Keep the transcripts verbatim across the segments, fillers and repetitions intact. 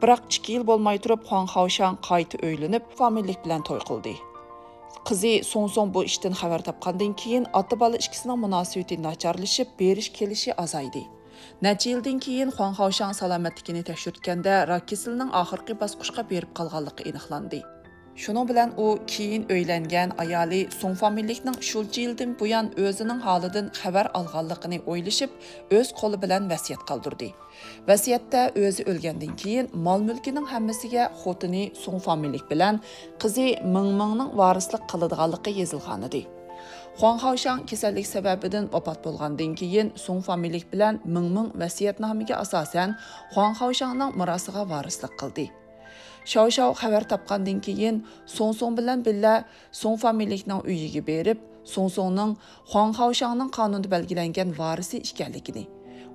بىراق ئىككى يىل بولماي تۇرۇپ، خۇاڭ خاۋشاڭ قايتا ئۆيلىنىپ، فامىلىلىك بىلەن توي قىلدى. قىزى سۇڭ سۇڭ بۇ ئىشتىن خەۋەر تاپقاندىن كېيىن، ئاتا-بالا ئىككىسىنىڭ مۇناسىۋىتى ناچارلىشىپ، بېرىش-كېلىشى ئازايدى. نەچچە يىلدىن كېيىن خۇاڭ خاۋشاڭ سالامەتلىكىنى تەكشۈرتكەندە، راك كېسىلىنىڭ ئاخىرقى باسقۇچقا بېرىپ قالغانلىقى ئېنىقلاندى. شۇنىڭ بىلەن ئۇ كېيىن ئۆيلەنگەن ئايالى سۇڭ فامىلىلىكنىڭ شۇنچە يىلدىن بۇيان ئۆزىنىڭ ھالىدىن خەۋەر ئالغانلىقىنى ئويلىشىپ، ئۆز قولى بىلەن ۋەسىيەت قالدۇردى. ۋەسىيەتتە ئۆزى ئۆلگەندىن كېيىن مال-مۈلكىنىڭ ھەممىسىگە خوتۇنى سۇڭ فامىلىلىك بىلەن قىزى مىڭ مىڭنىڭ ۋارىسلىق قىلىدىغانلىقى يېزىلغانىدى. خۇاڭ خاۋشاڭ كېسەللىك سەۋەبىدىن ۋاپات بولغاندىن كېيىن، سۇڭ فامىلىلىك بىلەن مىڭ مىڭ ۋەسىيەتنامىگە ئاساسەن خۇاڭ خاۋشاڭنىڭ مىراسىغا ۋارىسلىق قىلدى. شاۋ شاۋ خەۋەر تاپقاندىن كېيىن، سۇڭ سۇڭ بىلەن بىللە سۇڭ فامىلىلىكنىڭ ئۆيىگە بېرىپ، سۇڭ سۇڭنىڭ خۇاڭ خاۋشاڭنىڭ قانۇندا بەلگىلەنگەن ۋارىسى ئىكەنلىكىنى،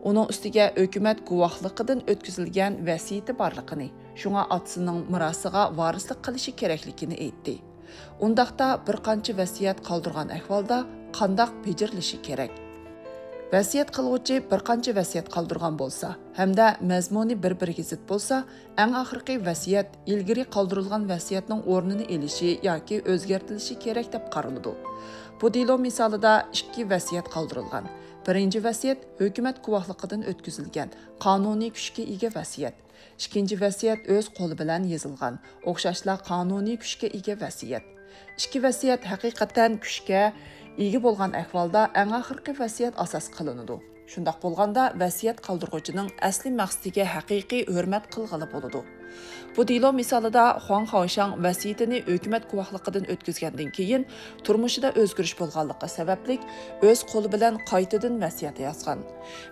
ئۇنىڭ ئۈستىگە ھۆكۈمەت گۇۋاھلىقىدىن ئۆتكۈزۈلگەن ۋەسىيىتى بارلىقىنى، شۇڭا ئاتىسىنىڭ مىراسىغا ۋارىسلىق قىلىشى كېرەكلىكىنى ئېيتتى. ئۇنداقتا بىر قانچە ۋەسىيەت قالدۇرغان ئەھۋالدا قانداق بېجىرىلىشى كېرەك؟ ۋەسىيەت قىلغۇچى بىر قانچە ۋەسىيەت قالدۇرغان بولسا ھەمدە مەزمۇنى بىر-بىرىگە زىت بولسا، ئەڭ ئاخىرقى ۋەسىيەت ئىلگىرى قالدۇرۇلغان ۋەسىيەتنىڭ ئورنىنى ئېلىشى ياكى ئۆزگەرتىلىشى كېرەك دەپ قارىلىدۇ. بۇ دېلو مىسالىدا ئىككى ۋەسىيەت قالدۇرۇلغان. بىرىنچى ۋەسىيەت ھۆكۈمەت گۇۋاھلىقىدىن ئۆتكۈزۈلگەن، قانۇنىي كۈچكە ئىگە ۋەسىيەت. ئىككىنچى ۋەسىيەت ئۆز قولى بىلەن يېزىلغان، ئوخشاشلا قانۇنىي كۈچكە ئىگە ۋەسىيەت. ئىككى ۋەسىيەت ھەقىقەتەن كۈچكە ئىگە بولغان ئەھۋالدا ئەڭ ئاخىرقى ۋەسىيەت ئاساس قىلىنىدۇ. شۇنداق بولغاندا، ۋەسىيەت قالدۇرغۇچىنىڭ ئەسلى مەقسىتىگە ھەقىقىي ھۆرمەت قىلغىلى بولىدۇ. بۇ دېلو مىسالىدا خۇاڭ خاۋشاڭ ۋەسىيىتىنى ھۆكۈمەت گۇۋاھلىقىدىن ئۆتكۈزگەندىن كېيىن، تۇرمۇشىدا ئۆزگىرىش بولغانلىقى سەۋەبلىك، ئۆز قولى بىلەن قايتىدىن ۋەسىيەت يازغان.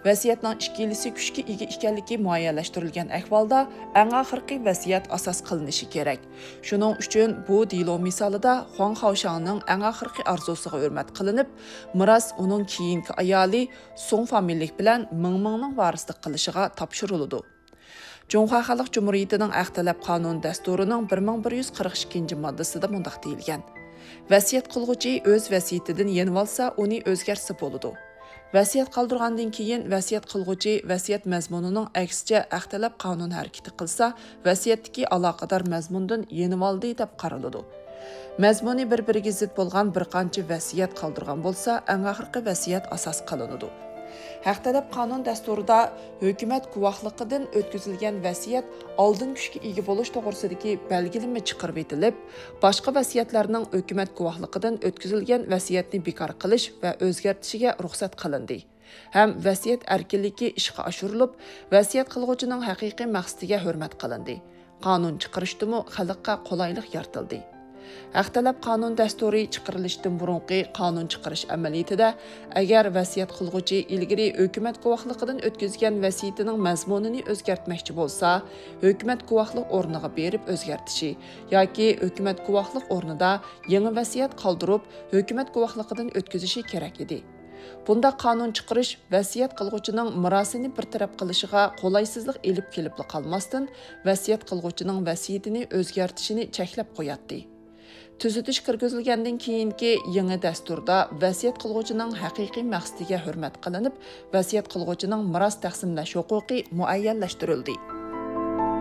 ۋەسىيەتنىڭ ئىككىلىسى كۈچكە ئىگە ئىكەنلىكى مۇئەييەنلەشتۈرۈلگەن ئەھۋالدا، ئەڭ ئاخىرقى ۋەسىيەت ئاساس قىلىنىشى كېرەك. شۇنىڭ ئۈچۈن بۇ دېلو مىسالىدا خۇاڭ خاۋشاڭنىڭ ئەڭ ئاخىرقى ئارزۇسىغا ھۆرمەت قىلىنىپ، مىراس ئۇنىڭ كېيىنكى ئايالى سۇڭ فامىلىلىك بىلەن مىڭ مىڭنىڭ ۋارىسلىق قىلىشىغا تاپشۇرۇلىدۇ. جۇڭخۇا خەلق جۇمھۇرىيىتىنىڭ ھەق تەلەپ قانۇن دەستۇرىنىڭ بىر مىڭ بىر يۈز قىرىق ئىككىنچى ماددىسىدا مۇنداق دېيىلگەن: ۋەسىيەت قىلغۇچى ئۆز ۋەسىيىتىدىن يېنىۋالسا، ئۇنى ئۆزگەرتسە بولىدۇ. ۋەسىيەت قالدۇرغاندىن كېيىن، ۋەسىيەت قىلغۇچى ۋەسىيەت مەزمۇنىنىڭ ئەكسىچە ھەق تەلەپ قانۇن ھەرىكىتى قىلسا، ۋەسىيەتتىكى ئالاقىدار مەزمۇندىن يېنىۋالدى دەپ قارىلىدۇ. مەزمۇنى بىر-بىرىگە زىت بولغان بىر قانچە ۋەسىيەت قالدۇرغان بولسا، ئەڭ ئاخىرقى ۋەسىيەت ئاساس قىلىنىدۇ. ھەق تەلەپ قانۇن دەستۇرىدا ھۆكۈمەت گۇۋاھلىقىدىن ئۆتكۈزۈلگەن ۋەسىيەت ئالدىن كۈچكە ئىگە بولۇش توغرىسىدىكى بەلگىلىمە چىقىرىۋېتىلىپ، باشقا ۋەسىيەتلەرنىڭ ھۆكۈمەت گۇۋاھلىقىدىن ئۆتكۈزۈلگەن ۋەسىيەتنى بىكار قىلىش ۋە ئۆزگەرتىشىگە رۇخسەت قىلىندى. ھەم ۋەسىيەت ئەركىنلىكى ئىشقا ئاشۇرۇلۇپ، ۋەسىيەت قىلغۇچىنىڭ ھەقىقىي مەقسىتىگە ھۆرمەت قىلىندى. قانۇن چىقىرىشتىمۇ خەلققە قولايلىق يارىتىلدى. ھەق تەلەپ قانۇن دەستۇرى چىقىرىلىشتىن بۇرۇنقى قانۇن چىقىرىش ئەمەلىيىتىدە، ئەگەر ۋەسىيەت قىلغۇچى ئىلگىرى ھۆكۈمەت گۇۋاھلىقىدىن ئۆتكۈزگەن ۋەسىيىتىنىڭ مەزمۇنىنى ئۆزگەرتمەكچى بولسا، ھۆكۈمەت گۇۋاھلىق ئورنىغا بېرىپ ئۆزگەرتىشى ياكى ھۆكۈمەت گۇۋاھلىق ئورنىدا يېڭى ۋەسىيەت قالدۇرۇپ، ھۆكۈمەت گۇۋاھلىقىدىن ئۆتكۈزۈشى كېرەك ئىدى. بۇنداق قانۇن چىقىرىش ۋەسىيەت قىلغۇچىنىڭ مىراسىنى بىر تەرەپ قىلىشىغا قولايسىزلىق ئېلىپ كېلىپلا قالماستىن، ۋەسىيەت قىلغۇچىنىڭ ۋەسىيىتىنى ئۆزگەرتىشىنى چەكلەپ قوياتتى. تۈزىتىش كىرگۈزۈلگەندىن كېيىنكى يېڭى دەستۇردا ۋەسىيەت قىلغۇچىنىڭ ھەقىقىي مەقسىتىگە ھۆرمەت قىلىنىپ، ۋەسىيەت قىلغۇچىنىڭ مىراس تەقسىملەش ھوقۇقى مۇئەييەنلەشتۈرۈلدى.